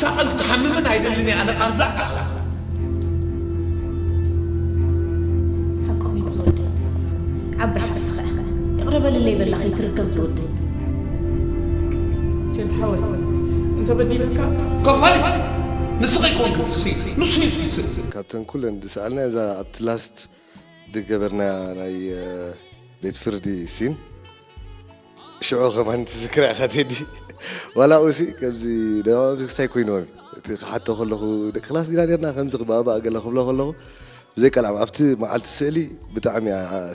ሳቐን ክትሓምምን ኣይደልን እየ ኣነ ቃንዛ ኣኽላ። ሓቆም እዩ ዝወደይ። ዓባይ ሓፍትኻ ኢኻ። ይቕረ በልለይ በላ ከይትርገም ዝወደይ። ቴዲ ሓወይ እንተበዲለካ ከፋሊ ንስኺ ኮንክ ትስይ ንሱ ይትስእ። ካብተን ኩለን ዝሰኣልና እዛ ኣብቲ ላስት ዝገበርና ናይ ቤት ፍርዲ ሲን ሽዑ ከማን ትዝክራ ኢኻ ቴዲ። ዋላ ኡሲ ከምዚ ደማም ክሳይ ኮይንዎም እቲ ክሓቶ ከለኹ ደቂ ክላስ ዲና ነርና ከምዚ ክባባእ ገለ ክብሎ ከለኹ ብዘይ ቀልዓም ኣብቲ መዓልቲ ስእሊ ብጣዕሚ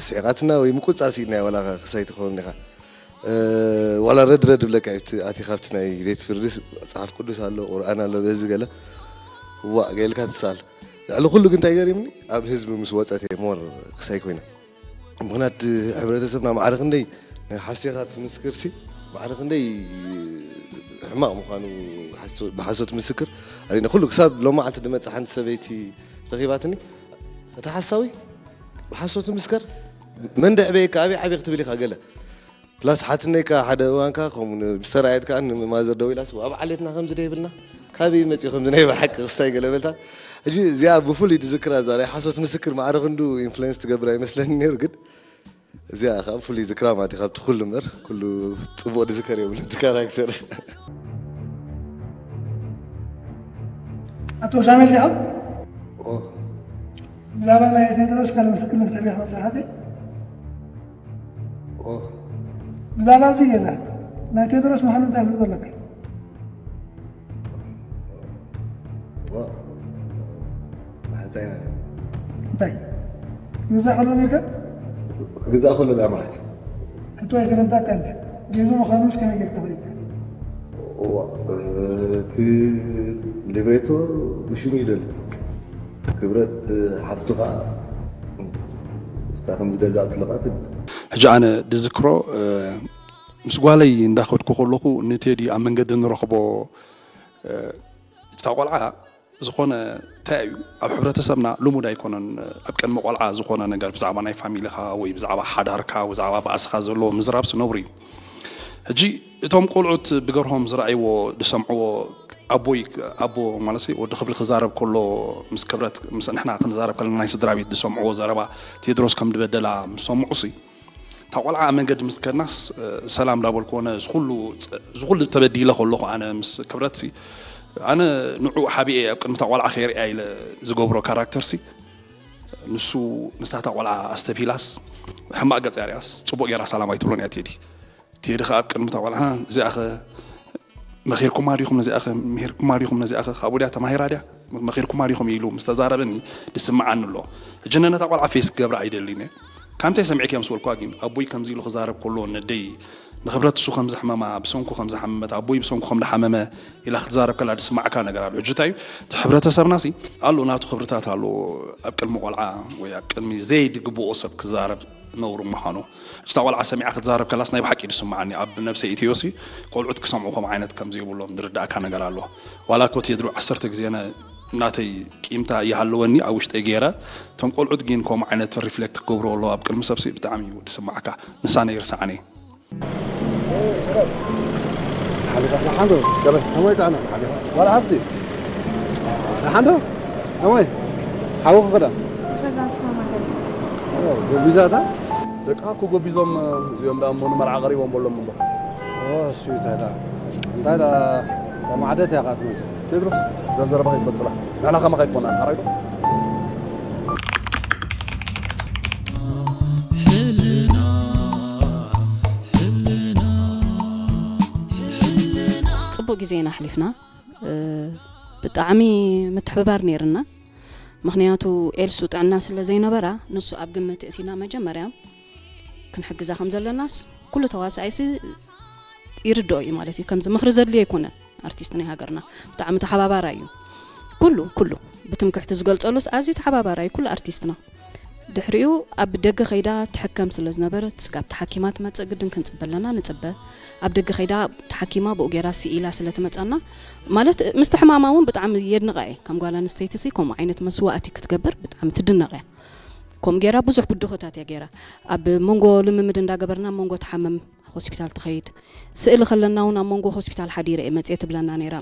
ስሒቓትና ወይ ምቁጻ ስኢልናዮ ዋላ ክሳይ ትኸውን ኢኻ። ዋላ ረድ ረድ ብለካ እዩ እቲ ኣቲ ካብቲ ናይ ቤት ፍርዲ መጽሓፍ ቅዱስ ኣሎ ቁርኣን ኣሎ በዚ ገለ ዋእ ገይልካ ትሳል። ልዕሊ ኩሉ ግን እንታይ ገሪምኒ ኣብ ህዝቢ ምስ ወጸት እየ ሞር ክሳይ ኮይነ። ምኽንያት ሕብረተሰብና ማዕረ ክንደይ ናይ ሓሴኻ ትምስክርሲ ማዕረ ክንደይ ሕማቕ ምዃኑ ብሓሶት ምስክር ኣሪነ ኩሉ ክሳብ ሎማዓልቲ ድመጽእ ሓንቲ ሰበይቲ ረኺባትኒ እቲ ሓሳዊ ብሓሶት ምስከር መን ደዕበየካ ኣበይ ዓብየ ክትብል ኢኻ ገለ ፕላስ ሓትነይካ ሓደ እዋንካ ከምኡ ብዝተራየት ከዓ ንማዘር ደው ኢላስ ኣብ ዓሌትና ከምዚ ደ ይብልና ካበይ መፅኡ ከምዚ ናይ ብሓቂ ክስታይ ገለ በልታ ሕጂ እዚኣ ብፍሉይ ድዝክራ እዛ ናይ ሓሶት ምስክር ማዕረ ክንዱ ኢንፍሉዌንስ ትገብር ኣይመስለኒ ነይሩ ግን እዚኣ ከዓ ብፍሉይ ዝክራ ማለት እዩ ካብቲ ኩሉ እምበር ኩሉ ፅቡቅ ድዝከር የብሉ እቲ ካራክተር ኣቶ ሳሙኤል ዲኻ? ብዛዕባ ናይ ቴድሮስ ካልእ ምስክርነት ተሪኻ ስራሓተይ ብዛዕባ እዚ ገዛ ናይ ቴድሮስ ምዃኑ እንታይ ፍልጦ ኣለካ? እንታይ ግዛእ ከሎ ጌርካ? ግዛእ ከሎ ዳ ማለት ሕቶ ኣይተረዳእካ እንደ ጌዙ ምዃኑ ምስ ከመይ ጌርካ ፈሊጥካ? እዋ እቲ ሊብሬቶ ብሽሙ ይደሊ ክብረት ሓፍቱ ከዓ እሳ ከም ዝገዛእትለካ ትድ ሕጂ ኣነ ድዝክሮ ምስ ጓለይ እንዳኸድኩ ከለኹ ንቴዲ ኣብ መንገዲ ንረኽቦ እታ ቆልዓ ዝኾነ እንታይ እዩ ኣብ ሕብረተሰብና ልሙድ ኣይኮነን ኣብ ቅድሚ ቆልዓ ዝኾነ ነገር ብዛዕባ ናይ ፋሚሊኻ ወይ ብዛዕባ ሓዳርካ ብዛዕባ ባእስኻ ዘለዎ ምዝራብስ ነውሪ እዩ ሕጂ እቶም ቆልዑት ብገርሆም ዝረኣይዎ ዝሰምዕዎ ኣቦይ ኣቦ ማለት ወዲ ክብሪ ክዛረብ ከሎ ምስ ክብረት ምስ ንሕና ክንዛረብ ከለና ናይ ስድራ ቤት ዝሰምዕዎ ዘረባ ቴድሮስ ከም ድበደላ ምስ ሰምዑ ሲ እታ ቆልዓ ኣብ መንገዲ ምስ ከድናስ ሰላም እንዳበልክዎ ነዚ ኩሉ ተበዲለ ከለኹ ኣነ ምስ ክብረትሲ ኣነ ንዑ ሓቢኤ ኣብ ቅድሚ እታ ቆልዓ ከይርእያ ኢለ ዝገብሮ ካራክተርሲ ንሱ ምስታ እታ ቆልዓ ኣስተብሂላስ ሕማቕ ገጽ እያ ርእያስ ጽቡቕ ገይራ ሰላም ኣይትብሎን እያ ቴዲ ቴዲ ከኣ ኣብ ቅድሚ እታ ቆልዓ እዚኣ ኸ መኺርኩማ ዲኹም ነዚኣ ኸ ምሂርኩማ ዲኹም ነዚኣ ኸ ካብኡ ድያ ተማሂራ ድያ መኺርኩማ ዲኹም ኢሉ ምስ ተዛረበኒ ዝስምዓኒ ኣሎ ሕጂ ነነታ ቆልዓ ፌስ ክገብራ ኣይደልን እየ ካብ ምንታይ ሰሚዕክያ ምስ በልኩዋ ግን ኣቦይ ከምዚ ኢሉ ክዛረብ ከሎ ነደይ ንክብረት እሱ ከም ዘሕመማ ብሰንኩ ከም ዝሓመመት ኣቦይ ብሰንኩ ከም ዝሓመመ ኢላ ክትዛረብ ከላ ዝስማዕካ ነገር ኣሎ ሕጂ እንታይ እዩ እቲ ሕብረተሰብና ሲ ኣሎ ናቱ ክብርታት ኣሎ ኣብ ቅድሚ ቆልዓ ወይ ኣብ ቅድሚ ዘይድግብኦ ሰብ ክዛረብ ነውሪ ምዃኑ እታ ቆልዓ ሰሚዓ ክትዛረብ ከላስ ናይ ብሓቂ ድስምዓኒ ኣብ ነብሰይ ኢትዮሲ ቆልዑት ክሰምዑ ከም ዓይነት ከም ዘይብሎም ዝርዳእካ ነገር ኣሎ ዋላ ኮት የድሩ ዓሰርተ ግዜ ናተይ ቂምታ ይሃለወኒ ኣብ ውሽጠይ ገይረ እቶም ቆልዑት ግን ከም ዓይነት ሪፍሌክት ክገብሩ ኣለዎ ኣብ ቅድሚ ሰብሲ ብጣዕሚ እዩ ድስማዕካ ንሳ ነይርሳዕኒ ሓሊፋ ሓንዶ ገበል ከመይ ጣዕና ሓሊፋ ዋላ ሃብቲ ሓንዶ ከመይ ሓወኹ ክዳ ገዛ ሽማማተል ጎቢዛታ ደቅኻ እኮ ጎቢዞም እዚኦም ደኣ እሞ ንመርዓ ቀሪቦም በሎም እምበር እሱ ይታዳ እንታይ ዳ ተማዕደት ያቃት መዚ ቴድሮስ እዛ ዘረባ ከይትቐጽላ ንሕና ከማኻ ኣይኮና ሓራይ ዶ ፅቡቅ ግዜ ኢና ኣሕሊፍና ብጣዕሚ ምትሕብባር ነይርና ምክንያቱ ኤልሱ ጥዕና ስለ ዘይነበራ ንሱ ኣብ ግምት እቲና መጀመርያ ክንሕግዛ ከም ዘለናስ ኩሉ ተዋሳኣይሲ ይርድኦ እዩ ማለት እዩ ከምዚ ምክሪ ዘድልዮ ኣይኮነን ኣርቲስት ናይ ሃገርና ብጣዕሚ ተሓባባራይ እዩ ኩሉ ኩሉ ብትምክሕቲ ዝገልፀሉስ ኣዝዩ ተሓባባራይ ኩሉ ኣርቲስትና ድሕሪኡ ኣብ ደገ ከይዳ ትሕከም ስለ ዝነበረት ስጋብ ተሓኪማ ትመፅእ ግድን ክንፅበ ኣለና ንፅበ ኣብ ደገ ከይዳ ተሓኪማ ብኡ ገይራ ስኢላ ስለ ትመፀና ማለት ምስቲ ሕማማ እውን ብጣዕሚ የድንቓ እየ ከም ጓል ኣንስተይቲ ሲ ከምኡ ዓይነት መስዋእቲ ክትገብር ብጣዕሚ ትድነቕ እያ ከምኡ ገይራ ብዙሕ ብድሆታት እያ ገይራ ኣብ መንጎ ልምምድ እንዳገበርና ኣብ መንጎ ትሓምም ሆስፒታል ትኸይድ ስእሊ ከለና እውን ኣብ መንጎ ሆስፒታል ሓዲረ እየ መፅየ ትብለና ነይራ